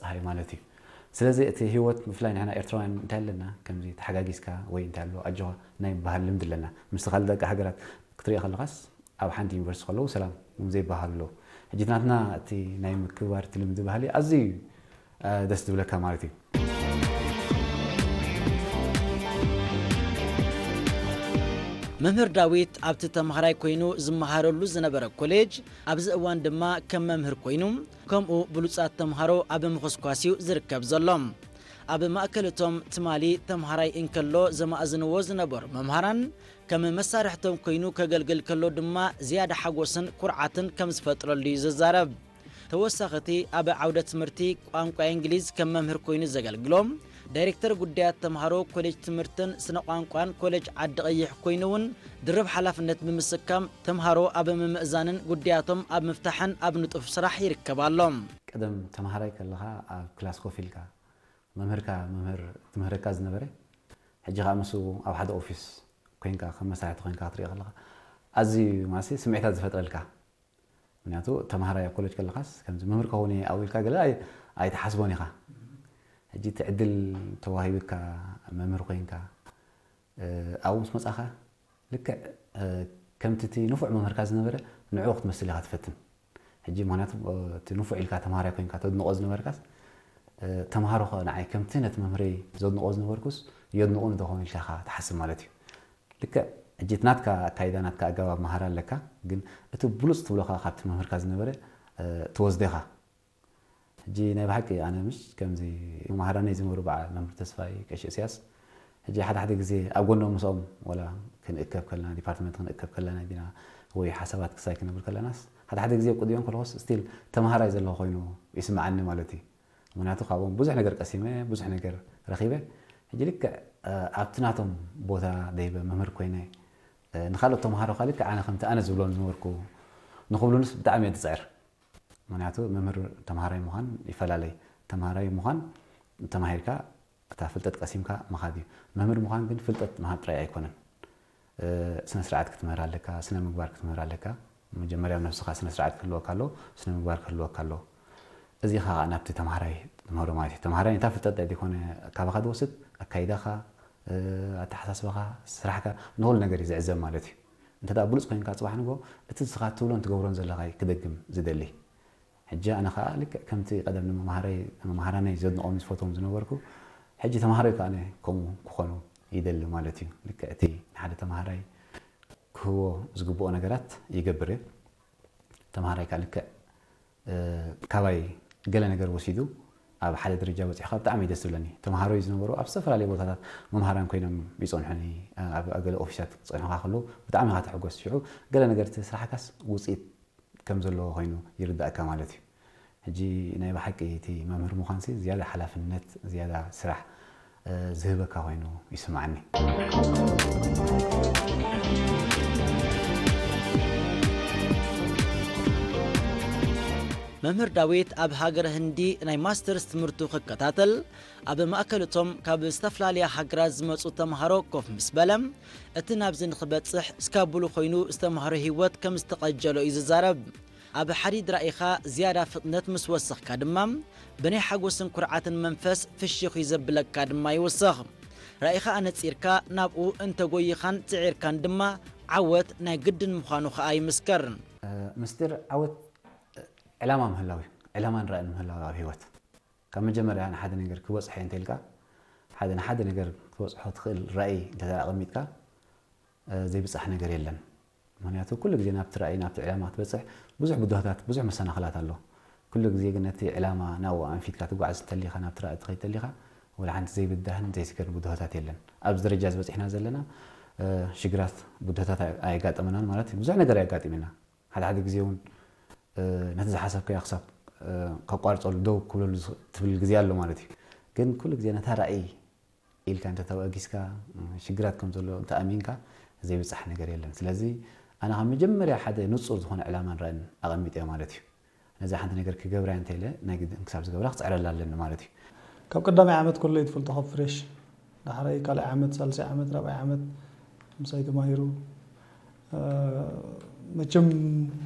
ጸሃይ ማለት እዩ። ስለዚ እቲ ህይወት ብፍላይ ንሕና ኤርትራውያን እንታይ ኣለና፣ ከምዚ ተሓጋጊዝካ ወይ እንታይ ኣሎ ኣጆኻ ናይ ምባሃል ልምዲ ኣለና። ምስቲ ካልእ ደቂ ሃገራት ክትሪኦ ከለኻስ ኣብ ሓንቲ ዩኒቨርሲቲ ከለዉ ሰላም እውን ዘይበሃሉ ኣለዉ። ሕጂ ናትና እቲ ናይ ምክብባር እቲ ልምዲ ባህሊ ኣዝዩ እዩ ደስ ዝብለካ ማለት እዩ። መምህር ዳዊት ኣብቲ ተምሃራይ ኮይኑ ዝመሃረሉ ዝነበረ ኮሌጅ ኣብዚ እዋን ድማ ከም መምህር ኮይኑ ከምኡ ብሉጻት ተምሃሮ ኣብ ምኹስኳስ እዩ ዝርከብ ዘሎ። ኣብ ማእከል እቶም ትማሊ ተምሃራይ እንከሎ ዘማእዝንዎ ዝነበሩ መምሃራን ከም መሳርሕቶም ኮይኑ ከገልግል ከሎ ድማ ዝያዳ ሓጎስን ኩርዓትን ከም ዝፈጥረሉ እዩ ዝዛረብ። ተወሳኺ እቲ ኣብ ዓውደ ትምህርቲ ቋንቋ እንግሊዝ ከም መምህር ኮይኑ ዘገልግሎ ዳይሬክተር ጉዳያት ተምሃሮ ኮሌጅ ትምህርትን ስነ ቋንቋን ኮሌጅ ዓዲ ቀይሕ ኮይኑ እውን ድርብ ሓላፍነት ብምስካም ተምሃሮ ኣብ ምምእዛንን ጉዳያቶም ኣብ ምፍታሕን ኣብ ንጡፍ ስራሕ ይርከብ ኣሎ። ቀደም ተምሃራይ ከለኻ ኣብ ክላስ ኮፍ ኢልካ መምህርካ መምህር ትምህረካ ዝነበረ ሕጂ ከዓ ምስ ኣብ ሓደ ኦፊስ ኮይንካ ከም መሳርሕቲ ኮይንካ ክትሪኦ ከለካ ኣዝዩ ማለት ስምዒታት ዝፈጥረልካ። ምክንያቱ ተምሃራይ ኣብ ኮሌጅ ከለካስ ከምዚ መምህር ከኸውን እየ ኣብኡ ኢልካ ገለ ኣይትሓስቦን ኢኻ። ሕጂ እቲ ዕድል ተዋሂብካ መምህር ኮይንካ ኣብኡ ምስ መፃኻ ልክዕ ከምቲ እቲ ንፉዕ መምህርካ ዝነበረ ንዕኡ ክትመስል ኢኻ ትፈትን። ሕጂ ምክንያቱ እቲ ንፉዕ ኢልካ ተምሃራይ ኮይንካ ተድንቆ ዝነበርካስ ተምሃሮ ከ ንዓይ ከምቲ ነቲ መምህረይ ዘድንቆ ዝነበርኩስ የድንቁኒ ዶ ኾን ኢልካ ኢኻ ትሓስብ ማለት እዩ። ልክዕ ሕጂ እቲ ናትካ ኣካይዳ ናትካ ኣገባብ መሃራ ኣለካ፣ ግን እቲ ብሉፅ ትብሎ ከኣ ካብቲ መምህርካ ዝነበረ ትወስዶ ኢኻ። ሕጂ ናይ ብሓቂ ኣነ ምሽ ከምዚ መሃራነይ ዝነበሩ በዓል መምህር ተስፋይ ቀሺ እስያስ ሕጂ ሓደ ሓደ ግዜ ኣብ ጎኖም ምስኦም ወላ ክንእከብ ከለና ዲፓርትመንት ክንእከብ ከለና ዲና ወይ ሓሳባት ክሳይ ክነብር ከለናስ ሓደ ሓደ ግዜ ኣብ ቅድሚኦም ከለኹስ ስቲል ተምሃራይ ዘለኹ ኮይኑ ይስምዓኒ ማለት እዩ። ምክንያቱ ካብኦም ብዙሕ ነገር ቀሲመ ብዙሕ ነገር ረኺበ። ሕጂ ልክዕ ኣብቲ ናቶም ቦታ ደይበ መምህር ኮይነ ንካልኦት ተምሃሮ ከ ልክዕ ኣነ ከምቲ ኣነ ዝብሎም ዝነበርኩ ንክብሉንስ ብጣዕሚ እየ ዝፅዕር። ምክንያቱ መምህር ተምሃራይ ምዃን ይፈላለይ። ተምሃራይ ምዃን ተማሂርካ እታ ፍልጠት ቀሲምካ ምኻድ እዩ። መምህር ምዃን ግን ፍልጠት ምሃብ ጥራይ ኣይኮነን። ስነ ስርዓት ክትምህር ኣለካ፣ ስነ ምግባር ክትምህር ኣለካ። መጀመርያ ኣብ ነብስኻ ስነ ስርዓት ክህልወካ ኣለዎ፣ ስነ ምግባር ክህልወካ ኣለዎ። እዚ ከዓ ናብቲ ተምሃራይ ትምህሮ ማለት እዩ። ተምሃራይ ነታ ፍልጠት ዘይኮነ ካባኻ ዝወስድ ኣካይዳኻ፣ ኣተሓሳስባኻ፣ ስራሕካ ንኹሉ ነገር እዩ ዝዕዘብ ማለት እዩ። እንተ ደኣ ብሉፅ ኮይንካ ፅባሕ ንጎ እቲ ንስኻ ትብሎን ትገብሮን ዘለኻ እዩ ክደግም ዝደሊ። ሕጂ ኣነ ከዓ ልክዕ ከምቲ ቀደም ንመምሃረይ መምሃራነይ ዘድንቆም ዝፈትዎም ዝነበርኩ ሕጂ ተምሃሮይ ከዓ ኣነ ከምኡ ክኾኑ ይደሊ ማለት እዩ። ልክዕ እቲ ንሓደ ተምሃራይ ክህቦ ዝግብኦ ነገራት ይገብር እየ። ተምሃራይ ከዓ ልክዕ ካባይ ገለ ነገር ወሲዱ ኣብ ሓደ ደረጃ በፂሑ ከዓ ብጣዕሚ እዩ ደስ ዝብለኒ። ተምሃሮይ ዝነበሩ ኣብ ዝተፈላለዩ ቦታታት መምሃራን ኮይኖም ይፀንሑኒ። ኣብ ገለ ኦፊሳት ክፀንሑካ ከለዉ ብጣዕሚ ኢኻ ትሕጎስ። ሽዑ ገለ ነገር እቲ ስራሕካስ ውፅኢት ከም ዘለዎ ኮይኑ ይርዳእካ ማለት እዩ። ሕጂ ናይ ብሓቂ እቲ መምህር ምዃንሲ ዝያዳ ሓላፍነት ዝያዳ ስራሕ ዝህበካ ኮይኑ ይስምዓኒ። መምህር ዳዊት ኣብ ሃገረ ህንዲ ናይ ማስተርስ ትምህርቱ ክከታተል ኣብ ማእከል እቶም ካብ ዝተፈላለያ ሃገራት ዝመጹ ተምሃሮ ኮፍ ምስ በለ እቲ ናብዚ ንኽበጽሕ ስካቡሉ ኮይኑ ዝተምሃሮ ህይወት ከም ዝተቐጀሎ እዩ ዝዛረብ። ኣብ ሓዲድ ራኢኻ ዝያዳ ፍጥነት ምስ ወሰኽካ ድማ ብናይ ሓጎስን ኩርዓትን መንፈስ ፍሽኽ እዩ ዘብለካ ድማ ይውስኽ። ራኢኻ ኣነጺርካ ናብኡ እንተጎይኻን ጽዒርካን ድማ ዓወት ናይ ግድን ምዃኑ ኸኣ ይምስክር። ምስጢር ዓወት ዕላማ ምህላው እዩ። ዕላማን ራእን ምህላው ኣብ ህይወት ካብ መጀመርያ ንሓደ ነገር ክበፅሖ እንተ ኢልካ ሓደ ንሓደ ነገር ክትበፅሖ ትኽእል ራእይ እንተ ኣቐሚጥካ ዘይብፃሕ ነገር የለን። ምክንያቱ ኩሉ ግዜ ናብቲ ራእይ ናብቲ ዕላማ ክትበፅሕ ብዙሕ ብድሆታት ብዙሕ መሰናኽላት ኣሎ። ኩሉ ግዜ ግን ነቲ ዕላማ ናብኡ ኣንፊትካ ትጓዓዝ እንተሊኻ ናብቲ ራእይ ትኸይድ ተሊኻ ወላ ሓንቲ ዘይብዳህን ዘይስገርን ብድሆታት የለን። ኣብዚ ደረጃ ዝበፂሕና ዘለና ሽግራት ብድሆታት ኣየጋጠመናን ማለት ብዙሕ ነገር ኣየጋጢምና ሓደ ሓደ ግዜ እውን ነቲ ዝሓሰብካዮ ክሳብ ከቋርፀሉ ደው ክብለሉ ትብል ግዜ ኣሎ ማለት እዩ። ግን ኩሉ ግዜ ነታ ራእይ ኢልካ እንተተበጊስካ ሽግራት ከም ዘሎ እንተኣሚንካ ዘይብፃሕ ነገር የለን። ስለዚ ኣነ ካብ መጀመርያ ሓደ ንፁር ዝኾነ ዕላማን ራእን ኣቐሚጠ ማለት እዩ። ነዛ ሓንቲ ነገር ክገብራ እንተ ኢለ ናይ ግድን ክሳብ ዝገብራ ክፅዕረላ ኣለኒ ማለት እዩ። ካብ ቀዳማይ ዓመት ከሎ እዩ ትፈልጦ ካብ ፍሬሽ ዳሕራይ ካልኣይ ዓመት ሳልሳይ ዓመት ራብዓይ ዓመት ምሳይ ተማሂሩ መቸም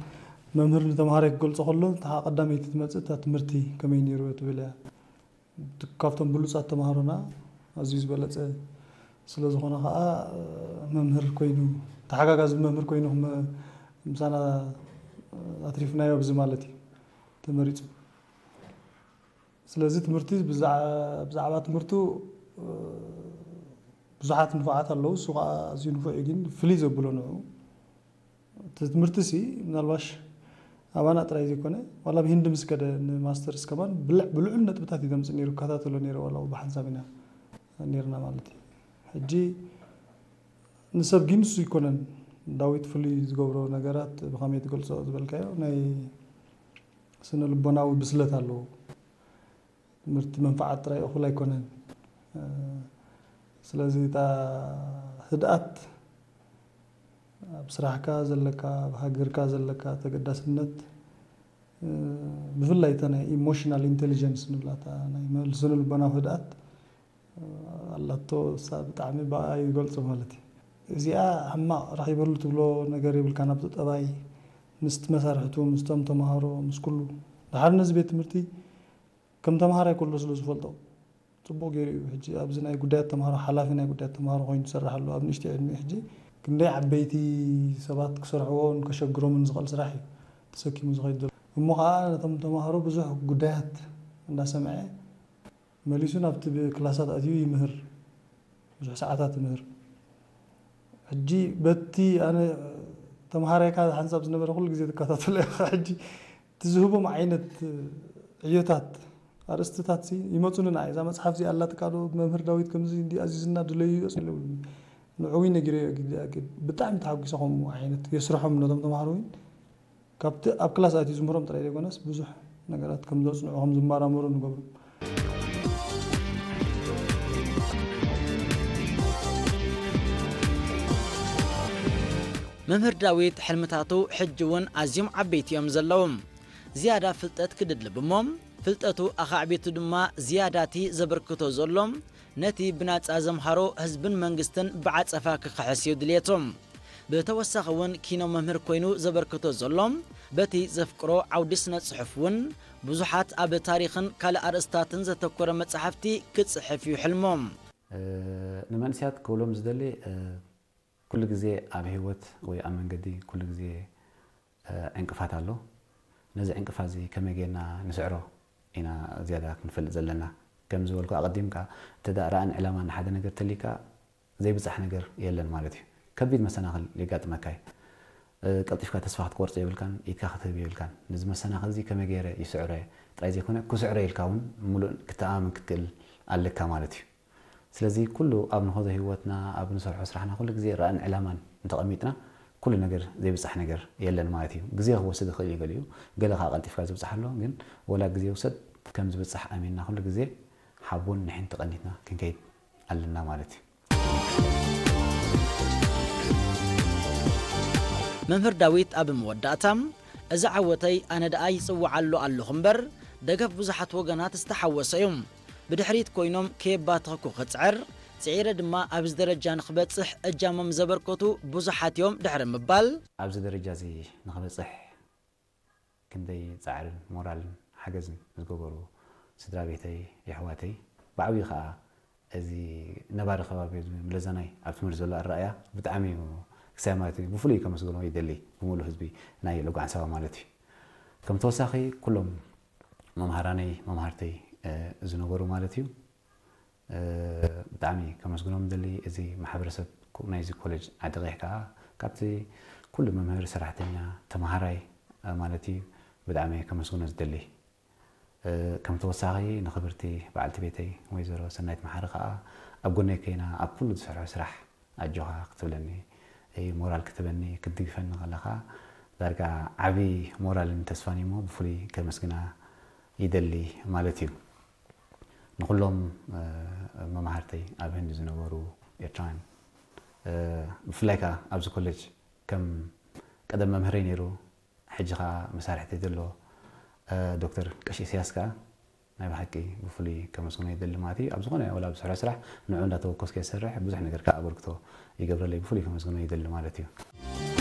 መምህር ንተምሃራይ ክገልፆ ከሎ እታ ቀዳመይቲ ትመፅእ እታ ትምህርቲ ከመይ ነይሩ ትብል እያ። ካብቶም ብሉጻት ተምሃሮና ኣዝዩ ዝበለጸ ስለ ዝኾነ ኸኣ፣ መምህር ኮይኑ፣ ተሓጋጋዚ መምህር ኮይኑ ክመ-፣ ምሳና ኣትሪፍናዮ ብዚ ማለት እዩ ተመሪጹ። ስለዚ ትምህርቲ ብዛ-፣ ብዛዕባ ትምህርቱ፣ ብዙሓት ንፉዓት ኣለዉ፣ እሱ ኸኣ ኣዝዩ ንፉዕ እዩ፣ ግን ፍልይ ዘብሎ ንዑ እቲ ትምህርቲሲ ምናልባሽ ኣባና ጥራይ ዘይኮነ፣ ዋላ ኣብ ሂንዲ ምስ ከደ ንማስተርስ ከማን ብልዕ-፣ ብልዑል ነጥብታት እዩ ዘምጽእ ነይሩ፣ እከታተሎ ነይረ፣ ዋላ ብሓንሳብ ኢና ነይርና ማለት እዩ። ሕጂ ንሰብ ግን እሱ ኣይኮነን። ዳዊት ፍሉይ ዝገብሮ ነገራት ብኸመይ ትገልጾ ዝበልካዮ ናይ ስነ ልቦናዊ ብስለት ኣለዎ። ትምህርቲ መንፍዓት ጥራይ እኹል ኣይኮነን። እ፣ ስለዚ እታ ህድኣት ኣብ ስራሕካ ዘለካ፣ ኣብ ሃገርካ ዘለካ ተገዳስነት፣ እ፣ ብፍላይ እታ ናይ ኢሞሽናል ኢንተሊጀንስ ንብላ፣ እታ ናይ መ-፣ ስነ ልቦናዊ ህድኣት፣ እ፣ ኣላቶ፣ እሳ ብጣዕሚ ብኣ ይገልጾ ማለት እዩ። እዚኣ ሕማቕ ረኺበሉ ትብሎ ነገር የብልካን፣ ኣብቲ ጠባይ፣ ምስቲ መሳርሕቱ፣ ምስቶም ተምሃሮ፣ ምስ ኩሉ። ደሓር ነዚ ቤት ትምህርቲ ከም ተምሃራይ ከሎ ስለ ዝፈልጦ፣ ጽቡቕ ገይሩ እዩ። ሕጂ ኣብዚ ናይ ጉዳያት ተምሃሮ፣ ሓላፊ ናይ ጉዳያት ተምሃሮ ኮይኑ ይሰርሕ ኣሎ። ኣብ ንእሽተይ ዕድሚኡ ሕጂ ክንደይ ዓበይቲ ሰባት ክሰርሕዎን ከሸግሮምን ዝኽእል ስራሕ እዩ ተሰኪሙ ዝኸይድ ዘሎ። እሞ ኸኣ ነቶም ተምሃሮ ብዙሕ ጉዳያት እንዳሰምዐ፣ መሊሱ ናብቲ ብ-፣ ክላሳት ኣትዩ ይምህር። ብዙሕ ሰዓታት ይምህር። ሕጂ በቲ ኣነ ተምሃራይካ ሓንሳብ ዝነበረ ኩሉ ግዜ ትከታተሎ ኢኻ። ሕጂ እቲ ዝህቦም ዓይነት ዕዮታት፣ ኣርእስትታት ሲ ይመጹኒ ንዓይ። እዛ መጽሓፍ እዚኣ ኣላትካ ዶ? መምህር ዳዊት ከምዚ እንዲ ኣዚዝና ድለዩ ይብሉኒ። ንዕኡ ነጊረዮ ግዜ ኣኪድ። ብጣዕሚ ተሓጒሰ ከምኡ ዓይነት የስርሖም ነቶም ተምሃሮ እውን። ካብቲ ኣብ ክላስ ኣትዩ ዝምህሮም ጥራይ ዘይኮነስ ብዙሕ ነገራት ከም ዘጽንዑ፣ ከም ዝመራመሩ ንገብሮም። መምህር ዳዊት ሕልምታቱ ሕጂ እውን ኣዝዮም ዓበይቲ እዮም ዘለዉ። ዝያዳ ፍልጠት ክድልብ እሞ ፍልጠቱ ኣኻዕቢቱ ድማ ዝያዳቲ ዘበርክቶ ዘሎ ነቲ ብናጻ ዘምሃሮ ህዝብን መንግስትን ብዓጸፋ ክኽሕስ እዩ ድልየቱ። ብተወሳኺ እውን ኪኖ መምህር ኮይኑ ዘበርክቶ ዘሎ በቲ ዘፍቅሮ ዓውዲ ስነ ጽሑፍ እውን ብዙሓት ኣብ ታሪኽን ካልእ ኣርእስታትን ዘተኮረ መጻሕፍቲ ክጽሕፍ እዩ ሕልሙ። እ፣ ንመንእሰያት ክብሎም ዝደሊ፣ እ፣ ኩሉ ግዜ ኣብ ህይወት ወይ ኣብ መንገዲ ኩሉ ግዜ፣ እ፣ ዕንቅፋት ኣሎ። ነዚ ዕንቅፋት እዚ ከመይ ጌርና ንስዕሮ ኢና ዝያዳ ክንፈልጥ ዘለና። ከም ዝበልኩ ኣቐዲምካ፣ እንተ ደኣ ራእን ዕላማን ንሓደ ነገር ተልዩካ ዘይብጻሕ ነገር የለን ማለት እዩ። ከቢድ መሰናኽል የጋጥመካ እዩ። እ፣ ቀልጢፍካ ተስፋ ክትቆርጾ የብልካን፣ ኢድካ ክትህብ የብልካን። ነዚ መሰናኽል እዚ ከመይ ገይረ ይስዕሮ እየ ጥራይ ዘይኮነ፣ ክስዕሮ ኢልካ እውን ምሉእ ክትኣማመን ክትክእል ኣለካ ማለት እዩ። ስለዚ ኩሉ ኣብ ንኸዶ ህይወትና፣ ኣብ ንሰርሖ ስራሕና ኩሉ ግዜ ራእን ዕላማን እንተቐሚጥና ኩሉ ነገር ዘይብጻሕ ነገር የለን ማለት እዩ። ግዜ ክወስድ ይኽእል እዩ ገሊኡ፣ ገለ ከኣ ቀልጢፍካ ዝብጻሕ ኣሎ። ግን ወላ ግዜ ይውሰድ ከም ዝብጻሕ ኣሚንና ኩሉ ግዜ ሓቦን ንሕን ተቐኒትና ክንከይድ ኣለና ማለት እዩ። መምህር ዳዊት ኣብ መወዳእታ፣ እዚ ዓወተይ ኣነ ደኣ ይጽውዓሉ ኣለኹ እምበር፣ ደገፍ ብዙሓት ወገናት ዝተሓወሰ እዩ። ብድሕሪት ኮይኖም ከየባተኽኩ ክጽዕር፣ ጽዒረ ድማ ኣብዚ ደረጃ ንኽበጽሕ እጃሞም ዘበርከቱ ብዙሓት እዮም ድሕሪ ምባል፣ ኣብዚ ደረጃ እዚ ንኽበጽሕ ክንደይ ጻዕርን ሞራልን ሓገዝን ዝገበሩ ስድራ ቤተይ፣ የሕዋተይ፣ ብዓብዩ ከኣ እዚ ነባሪ ከባቢ፣ እዚ ምለዛናይ ኣብ ትምህርቲ ዘሎ ኣረኣእያ ብጣዕሚ እዩ ክሳይ ማለት እዩ። ብፍሉይ ከመስግኖ ይደሊ፣ ብምሉእ ህዝቢ ናይ ልጓ ዓንሰባ ማለት እዩ። ከም ተወሳኺ ኩሎም መምሃራነይ፣ መምሃርተይ፣ እ፣ ዝነበሩ ማለት እዩ። እ፣ ብጣዕሚ ከመስግኖም ደሊ። እዚ ማሕበረሰብ ኮ-፣ ናይዚ ኮሌጅ ዓዲ ቀይሕ ከኣ ካብቲ ኩሉ መምህር፣ ሰራሕተኛ፣ ተምሃራይ፣ እ፣ ማለት እዩ ብጣዕሚ ከመስግኖ ዝደሊ። እ፣ ከም ተወሳኺ ንኽብርቲ በዓልቲ ቤተይ ወይዘሮ ሰናይት መሓሪ ከኣ ኣብ ጎነይ ኮይና ኣብ ኩሉ ዝሰርሖ ስራሕ ኣጆኻ ክትብለኒ፣ እ፣ ሞራል ክትበኒ፣ ክትድግፈኒ ከለኻ ዳርጋ ዓቢ ሞራልን ተስፋን እዩሞ ብፍሉይ ከመስግና ይደሊ ማለት እዩ። ንኹሎም፣ እ፣ መማህርተይ ኣብ ህንዲ ዝነበሩ ኤርትራውያን፣ እ፣ ብፍላይ ከኣ ኣብዚ ኮሌጅ ከም ቀደም መምህረይ ነይሩ፣ ሕጂ ከኣ መሳርሕተይ ዘሎ፣ እ፣ ዶክተር ቀሺ ኢሳያስ ከኣ ናይ ብሓቂ ብፍሉይ ከመስግኖ ይደሊ ማለት እዩ። ኣብ ዝኾነ ወላ ኣብ ዝሰርሖ ስራሕ ንዕኡ እንዳተወከስኩ እየ ዝሰርሕ፣ ብዙሕ ነገር ከኣ ኣበርክቶ ይገብረለይ፣ ብፍሉይ ከመስግኖ ይደሊ ማለት እዩ።